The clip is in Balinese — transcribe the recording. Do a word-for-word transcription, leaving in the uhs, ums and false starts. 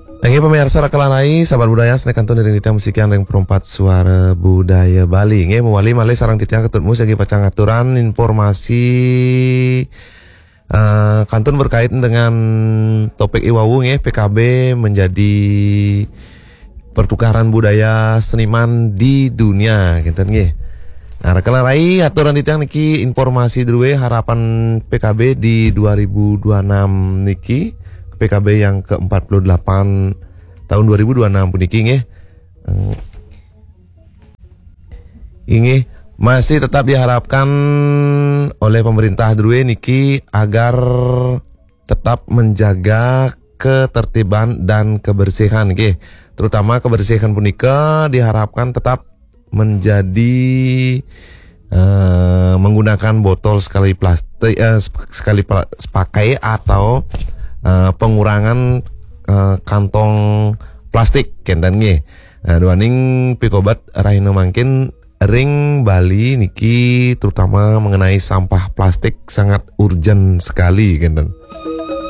Inggih pamiarsa Rakelarai, sahabat budaya, sané kantun iring titiang masikian ring Perempat Suara Budaya Bali. Inggih, mawali malih sareng titiang Ketut Mus, inggih pacang ngaturan informasi, eh, kantun berkaitan dengan topik iwau, inggih, P K B menjadi pertukaran budaya seniman di dunia, gitu, inggih. Nah, Rakelarai, aturan titiang niki informasi drué harapan P K B di dua ribu dua enam niki, P K B yang ke empat puluh delapan tahun dua ribu dua enam puniki, nggih. Eh, inggih, masih tetap diharapkan oleh pemerintah drué niki agar tetap menjaga ketertiban dan kebersihan, nggih. Terutama kebersihan punika diharapkan tetap menjadi, eh, menggunakan botol sekali plastik, eh, sep-, sekali pla-, pakai atau, eh, pengurangan, eh, kantong plastik, kénten, nggih. Nah, duaning pikobet rahina mangkin ring Bali niki, terutama mengenai sampah plastik, sangat urgen sekali, kénten.